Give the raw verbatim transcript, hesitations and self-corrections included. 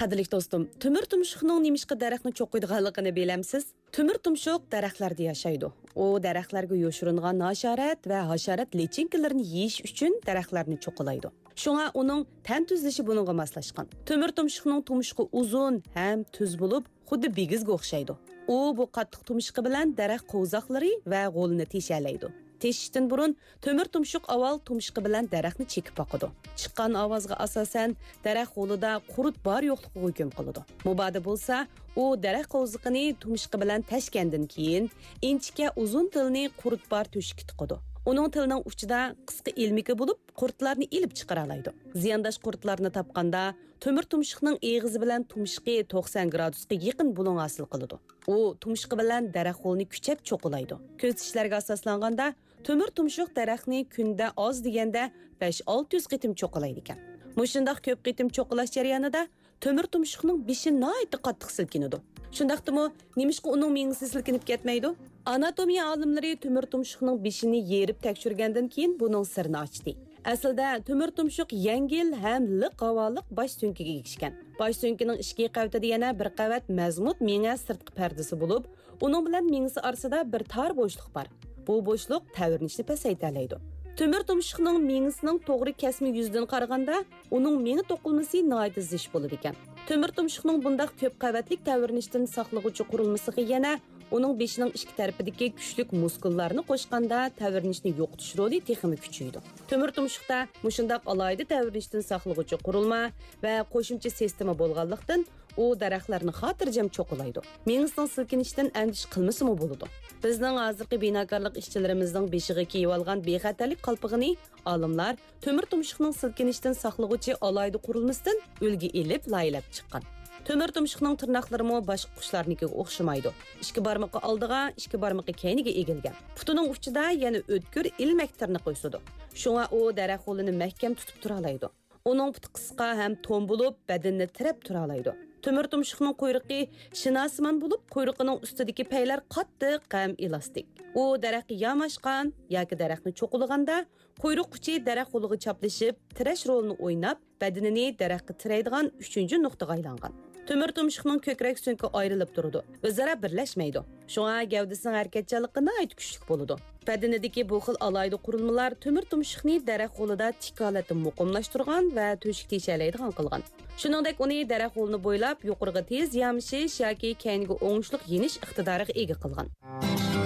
قەدىرلىك دوستۇم، تۆمۈر تۇمشۇقنىڭ نېمىشقا دەرەخنى چوقۇيدىغانلىقىنى بىلەمسىز؟ تۆمۈر تۇمشۇق دەرەخلەردە ياشايدۇ. ئۇ دەرەخلەرگە يوشۇرۇنغان ھاشارات ۋە ھاشارات لىچىنكىلىرىنى يېيىش ئۈچۈن دەرەخلەرنى چوقۇلايدۇ. شۇڭا ئۇنىڭ تەن تۈزۈلۈشى بۇنىڭغا ماسلاشقان. تۆمۈر تۇمشۇقنىڭ تۇمشۇقى ئۇزۇن ھەم تۈز بولۇپ، خۇددى بىگىزگە ئوخشايدۇ. ئۇ بۇ قاتتىق تۇمشۇقى بىلەن دەرەخ قوۋزاقلىرى ۋە غولىنى تېشەلەيدۇ. تېشىشتىن بۇرۇن تۆمۈر تۇمشۇق ئاۋۋال تۇمشۇقى بىلەن دەرەخنى چېكىپ باقىدۇ. چىققان ئاۋازغا ئاساسەن، دەرەخ غولىدا قۇرت بار يوقلۇقىغا ھۆكۈم قىلىدۇ. مۇبادا بولسا، ئۇ دەرەخ قوۋزىقىنى تۇمشۇقى بىلەن تەشكەندىن كېيىن، ئىنچىكە ئۇزۇن تىلىنى قۇرت بار تۆشۈككە تىقىدۇ. ئۇنىڭ تىلىنىڭ ئۇچىدا قىسقا ئىلمىكى بولۇپ، قۇرتلارنى ئېلىپ چىقىرالايدۇ. زىيانداش قۇرتلارنى تاپقاندا، تۆمۈر تۇمشۇقنىڭ ئېغىزى بىلەن تۇمشۇقى توقسان گرادۇسقا يېقىن بۇلۇڭ ھاسىل قىلىدۇ. ئۇ تۇمشۇقى بىلەن دەرەخ غولىنى كۈچەپ چوقۇلايدۇ. كۆزىتىشلەرگە ئاساسلانغاندا، تۆمۈر تۇمشۇق دەرەخنى كۈندە ئاز دېگەندە بەش-ئالتە يۈز قېتىم چوقۇلايدىكەن. مۇشۇنداق كۆپ قېتىم چوقۇلاش جەريانىدا تۆمۈر تۇمشۇقنىڭ بېشى ناھايىتى قاتتىق سىلكىنىدۇ. شۇنداقتىمۇ، نېمىشقا ئۇنىڭ مېڭىسى سىلكىنىپ كەتمەيدۇ؟ ئاناتومىيە ئالىملىرى تۆمۈر تۇمشۇقنىڭ بېشىنى يېرىپ تەكشۈرگەندىن كېيىن بۇنىڭ سىرىنى ئاچتى. ئەسلىدە تۆمۈر تۇمشۇق يەڭگىل ھەم لىق ھاۋالىق باش سۆڭىكىگە ئېگىشكەن. باش سۆڭىكىنىڭ ئىچكى قەۋىتىدە يەنە بىر قەۋەت مەزمۇت مېڭە سىرتقى پەردىسى بولۇپ، ئۇنىڭ بىلەن مېڭىسى ئارىسىدا بىر تار بوشلۇق بار. بۇ بوشلۇق تەۋرىنىشنى پەسەيتەلەيدۇ. تۆمۈر تۇمشۇقنىڭ مېڭىسىنىڭ توغرا كەسمە يۈزىدىن قارىغاندا، ئۇنىڭ مېڭە توقۇلمىسى ناھايىتى زىچ بولىدىكەن. تۆمۈر تۇمشۇقنىڭ بۇنداق كۆپ قەۋەتلىك تەۋرىنىشتىن ساقلىغۇچى قۇرۇلمىسىغا يەنە ئۇنىڭ بېشىنىڭ ئىككى تەرىپىدىكى كۈچلۈك مۇسكۇللارنى قوشقاندا تەۋرىنىشنى يوقىتىش رولى تېخىمۇ كۈچىيىدۇ. تۆمۈر تۇمشۇقتا مۇشۇنداق ئالاھىدە تەۋرىنىشتىن ساقلىغۇچى قۇرۇلما ۋە قوشۇمچە سىستېما بولغانلىقتىن، ئۇ دەرەخلەرنى خاتىرجەم چوقۇلايدۇ. مېڭىسىنىڭ سىلكىنىشىدىن ئەندىشە قىلمىسىمۇ بولىدۇ. بىزنىڭ ھازىرقى بىناكارلىق ئىشچىلىرىمىزنىڭ بېشىغا كىيىۋالغان بىخەتەرلىك قالپىقىنى ئالىملار تۆمۈر تۇمشۇقنىڭ سىلكىنىشتىن ساقلىغۇچى ئالاھىدە قۇرۇلمىسىدىن ئۈلگە ئېلىپ لايىھەلەپ چىققان. تۆمۈر تۇمشۇقنىڭ تىرناقلىرىمۇ باشقا قۇشلارنىڭكىگە ئوخشىمايدۇ. ئىككى بارمىقى ئالدىغا، ئىككى بارمىقى كەينىگە ئېگىلگەن. پۇتىنىڭ ئۇچىدا يەنە ئۆتكۈر ئىلمەك تىرنىقى ئۆسىدۇ. شۇڭا ئۇ دەرەخ غولىنى مەھكەم تۇتۇپ تۇرالايدۇ. ئۇنىڭ پۇتى قىسقا ھەم توم بولۇپ، بەدىنىنى تىرەپ تۇرالايدۇ. تۆمۈر تۇمشۇقنىڭ قۇيرۇقى شىناسىمان بولۇپ، قۇيرۇقىنىڭ ئۈستىدىكى پەيلەر قاتتىق ھەم ئېلاستىك. ئۇ دەرەخكە ياماشقان ياكى دەرەخنى چوقۇلىغاندا، قۇيرۇق ئۇچى دەرەخ غولىغا چاپلىشىپ، تىرەش رولىنى ئويناپ، بەدىنىنى دەرەخكە تىرەيدىغان ئۈچىنچى نۇقتىغا ئايلانغان. تۆمۈر تۇمشۇقنىڭ كۆكرەك سۆڭىكى ئايرىلىپ تۇرىدۇ، ئۆزئارا بىرلەشمەيدۇ. شۇڭا گەۋدىسىنىڭ ھەرىكەتچانلىقى ناھايىتى كۈچلۈك بولىدۇ. بەدىنىدىكى بۇ خىل ئالاھىدە قۇرۇلمىلار تۆمۈر تۇمشۇقنى دەرەخ غولىدا تىك ھالەتتە مۇقىملاشتۇرغان ۋە تۆشۈك تېشەلەيدىغان قىلغان. شۇنىڭدەك ئۇنى دەرەخ غولىنى بويلاپ يۇقىرىغا تېز يامىشىش ياكى كەينىگە ئوڭۇشلۇق يېنىش ئىقتىدارىغا ئىگە قىلغان.